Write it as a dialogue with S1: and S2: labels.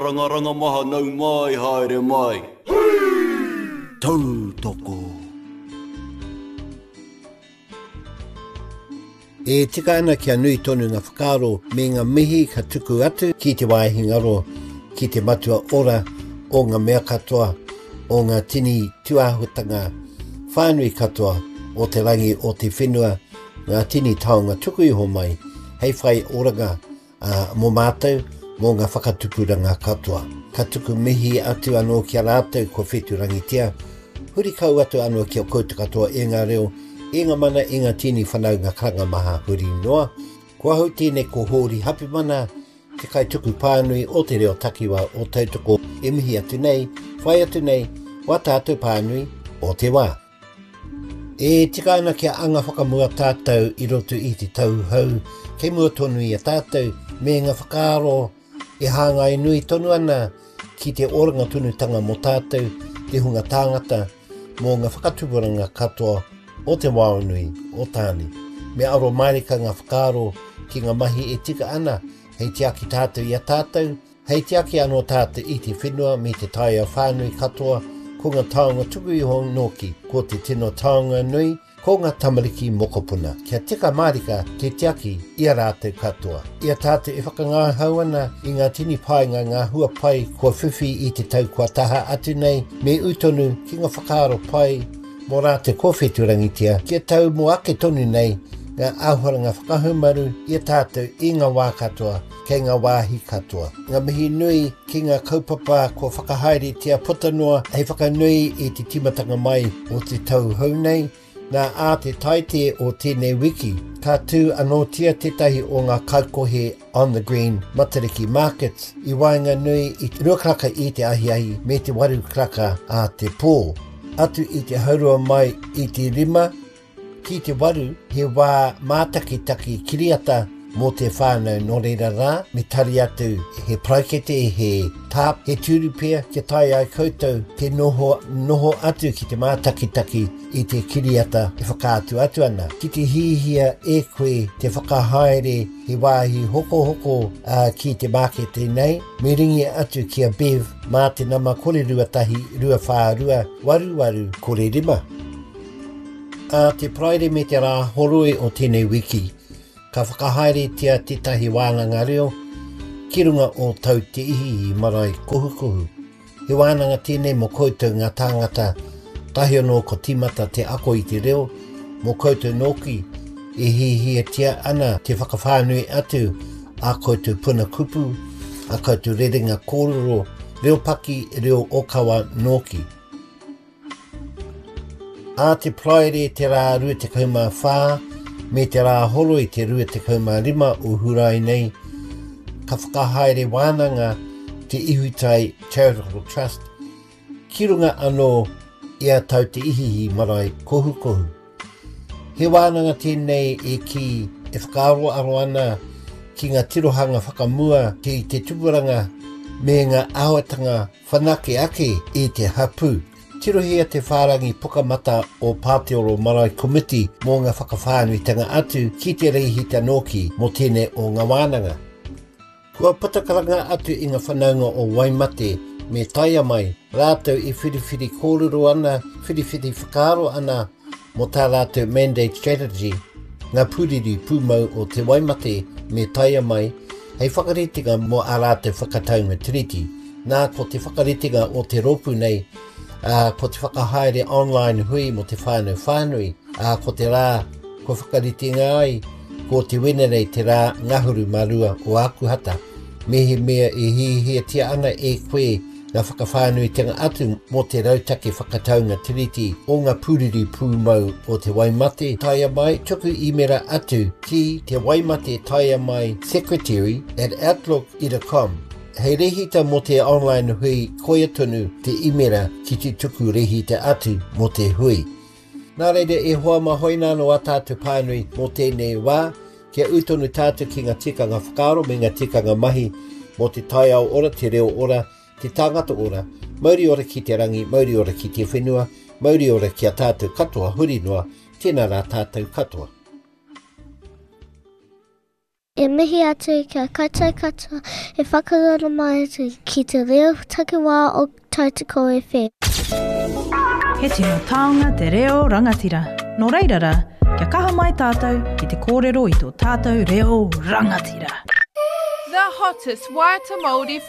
S1: Rangaranga maha nau mai haere mai. Tautoko.
S2: E tika ana kia nui tonu nga whakaaro me nga mihi ka tuku atu ki te wāhi ngaro, ki te matua ora o nga mea katoa, o nga tini tuāhuatanga whānui katoa o te rangi o te whenua, nga tini taonga tuku iho mai hei whai oranga ā, mō mātou, mō ngā whakatupuranga katoa. Ka tuku mihi atu anō ki a rātou kua whetūrangitia, huri kau atu anō ki a koutou katoa e ngā reo, e ngā mana, e ngā tini whanaunga karanga maha huri noa. Ko ahau tēnei ko Hōri Hapimana, te kaituku pānui o te reo takiwā o Tautoko e mihi atu nei, whai atu nei, wā tātou pānui o te wā. E tika ana kia anga whakamua tātou i roto i te tau hou kei mua tonu i a tātou me ngā whakaaro e hāngai nui tonu ana ki te oranga tonutanga mō tātou, te hunga tāngata, mō ngā whakatupuranga katoa o te wao nui o Tāne. Me aro mārika ngā whakaaro ki ngā mahi e tika ana hei tiaki tātou i a tātou, Hei tiaki anō tātou i te whenua me te taiao whānui katoa, ko ngā taonga tuku iho nōki, ko te tino taonga nui, ko ngā tamariki mokopuna. Kia tika mārika te tiaki i a rātou katoa. I a tātou e whakangahau ana i ngā tini painga ngā hua pai kua whiwhi i te tau kua taha atu nei, me ū tonu ki ngā whakaaro pai mō rātou kua whetūrangitia, kia tau mō ake tonu nei ngā āhuaranga whakahaumaru i a tātou i ngā wā katoa, kei ngā wāhi katoa. Ngā mihi nui ki ngā kaupapa kua whakahaeretia puta noa hei whakanui i te tīmatanga mai o te tau hou nei, nā ā te Taite o tēnei wiki, ka tū anōtia tētahi o ngā kaikohe On The Green Matariki Markets i waenganui i te rua karaka i te ahiahi me te waru karaka a te pō. Atu i te haurua mai i te rima, Ki te waru, he wā mātakitaki kiriata mō te whānau nō reira rā, me tari atu he paraikete, he tarp, he tūru pea kia tae ai koutou te noho, noho atu ki te mātakitaki i te kiriata e whakaatu atu ana. Ki te hihia e koe te whakahaere he wāhi hokohoko ki te mākete nei, me ringi atu ki a Bev mā te nama 021 242 88 05. Ā te Paraire me te Rāhoroi o tēnei wiki, ka whakahaeretia tētahi wānanga reo ki runga o Tau Te Ihiihi marae kohukohu. He wānanga tēnei mō koutou ngā tāngata tahi anō ko tīmata te ako i te reo, mō koutou nōki e hiahiatia ana te whakawhānui atu ā koutou puna kupu, ā koutou rerenga kōrero, reo paki, reo ōkawa nōki. Ā te Paraire te rā 24 me te Rāhoroi te 25 o Hurae nei, ka whakahaere wānanga te Ihutai Charitable Trust ki runga anō i a Tau Te Ihiihi marae kohukohu. He wānanga tēnei e kī e whakaaroaro ana ki ngā tirohanga whakamua ki te tupuranga me ngā āhuatanga Whanake ake i te hapū. Tirohia te whārangi pukamata o Pāteoro Marae Komiti mō ngā whakawhānuitanga atu ki te rēhita nōki mō tēnei o ngā wānanga. Kua puta karanga atu i ngā whanaunga o Waimate me Taiamai rātou i whiriwhiri kōrero ana, whiriwhiri whakaaro ana mō tā rātou Mandate Strategy, ngā pūriri pūmau o Te Waimate me Taiamai hei whakaritenga mō ā rātou whakataunga tiriti. Nā, ko te whakaritenga o te rōpū nei, ā, ko te whakahaere online hui mō te whānau whānui, ā, ko te rā kua whakaritenga ai, ko te Wenerei te rā ngahuru mā rua o Ākuhata. Mehemea e hiahiatia ana e koe ngā whakawhānuitanga atu mō te rautaki whakataunga tiriti o ngā pūriri pūmau o Te Waimate, taea mai, tuku īmera atu ki te waimate taea mai secretary at outlook ira com. Hei rehita mō te online hui koia tonu te īmera ki te tuku rehita atu mō te hui. Nā reira e hoa mā hoina anō a tātou pānui mō tēnei wā, kia ū tonu tātou ki ngā tikanga whakaaro me ngā tikanga mahi mō te taiao ora, te reo ora, te tāngata ora, mauri ora ki te rangi, mauri ora ki te whenua, mauri ora ki a tātou katoa huri noa, tēnā rā tātou katoa.
S3: E mihi atu ki a koutou katoa e whakarongo mai ana ki te reo takiwā o Tautoko FM.
S4: He tino taonga te reo rangatira. Nō reira rā, kia kaha mai tātou ki te kōrero i tō tātou reo rangatira.
S5: The hottest waiata Māori.